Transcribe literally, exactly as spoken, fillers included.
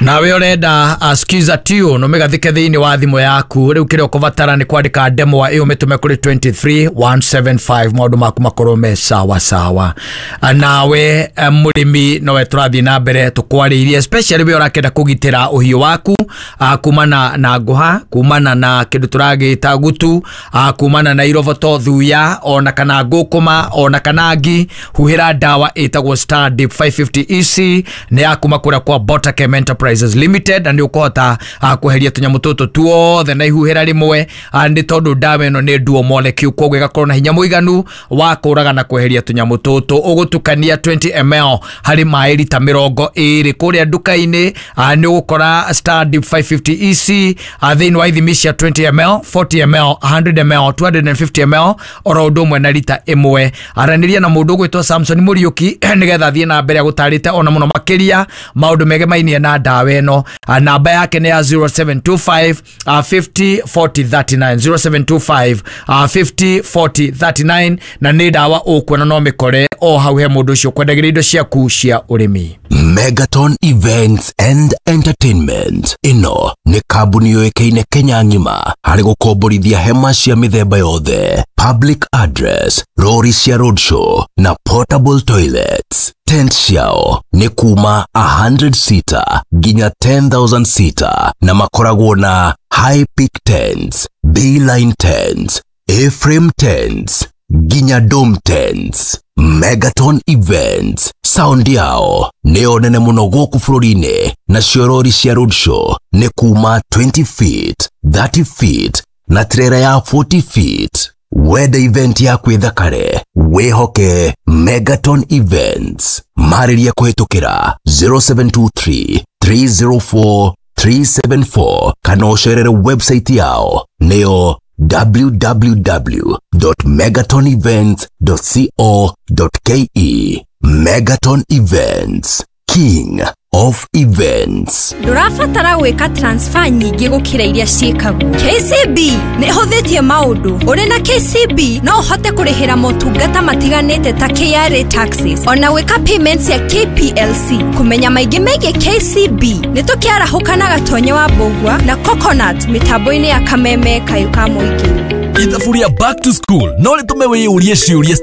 Nawe ũrenda uh, skiza tune ũmĩgathĩke thĩinĩ wa thimũ yaku, rĩu kĩrĩa ũkũbatara nĩ kwandĩka ndemwa ĩyo mĩtũme kũrĩ two three one seven five, maũndũ maku makorwo me sawa sawa. Ah, nawe eh, mũrĩmi, nowe tũrathiĩ na mbere tũkwarĩirie, especially we ũrakĩenda kũgitĩra ũhiũ waku uh, kumana na ngũha, kumana na kĩndũ tũragĩta gutu, uh, kumana na iroboto, thuya, ona kana ngũkũma, ona kana ngi. Huhĩra ndawa ĩtagwo Star Dip five fifty E C, nĩ ya kuma kũrĩa kwa Botachem Enterprises Limited, na nĩ ũkũhota uh, kweheria tũnyamũ tũtũ tuothe na ihuhĩra rĩmwe, uh, nĩ tondũ ndawa ĩno nĩ dual molecule, koguo ĩgakorwo na hinya mũiganu wa kũraga na kweheria tũnyamũ tũtũ. Ũgũtukania twenty milliliters harĩ maĩ rita mĩrongo ĩrĩ. Kũrĩa nduka-inĩ uh, nĩ ũgũkora Star Dip five fifty E C uh, thĩinĩ wa ithimi cia twenty milliliters, forty milliliters, one hundred milliliters, two hundred fifty milliliters, oro ũndũ ũmwe na rita ĩmwe. Aranĩria na mũndũ ũgwĩtwo Samson Mũriũki nĩgetha athiĩ na mbere agũtarĩte ona mũno makĩria maũndũ megemainie na ndawa ĩno. Ah, namba yake nĩ ya zero seven two five uh, fifty forty thirty-nine, zero seven two five uh, fifty forty thirty-nine, na nĩ ndawa ũkuona no mĩkore o hau he mũndũ ũcio kwendagĩria indo ciaku cia ũrĩmi. Megaton Events and Entertainment ĩno nĩ kambuni yũĩkaine Kenya ng'ima harĩ gũkomborithia hema cia mĩthemba yothe, public address, rori cia roadshow na portable toilets. Tent ciao nĩ kuma one hundred seater nginya ten thousand seater, na makoragwo na high peak tents, B-line tents, A-frame tents nginya dome tents. Megaton Events sound yao nĩyo nene mũno gũkũ bũrũri-inĩ, nacio rori cia roadshow nĩ kuma twenty feet, thirty feet na trailer ya forty feet. Wenda event yaku ĩthakare, wĩhoke Megaton Events. Marĩria kũhĩtũkĩra zero seven two three three zero four three seven four kana ũcerere website yao, nĩyo w w w dot megatonevents dot co dot k e. Megaton Events, king of events. Ndũrabatara gwĩka transfer nyingĩ gũkĩra iria ciĩkagwo. K C B nĩ ĩhũthĩtie maũndũ. Ũrĩ na K C B no ũhote kũrĩhĩra motungata matiganĩte ta K R A taxes, ona gwĩka payments ya K P L C. Kũmenya maingĩ megiĩ K C B, nĩ tũkĩarahũka na Gatonye wa Mbũgua na Coconut mĩtambo-inĩ ya Kameme Kayũ ka Mũingĩ. Ithabu rĩa back to school no rĩtũme wĩyũrie ciũria.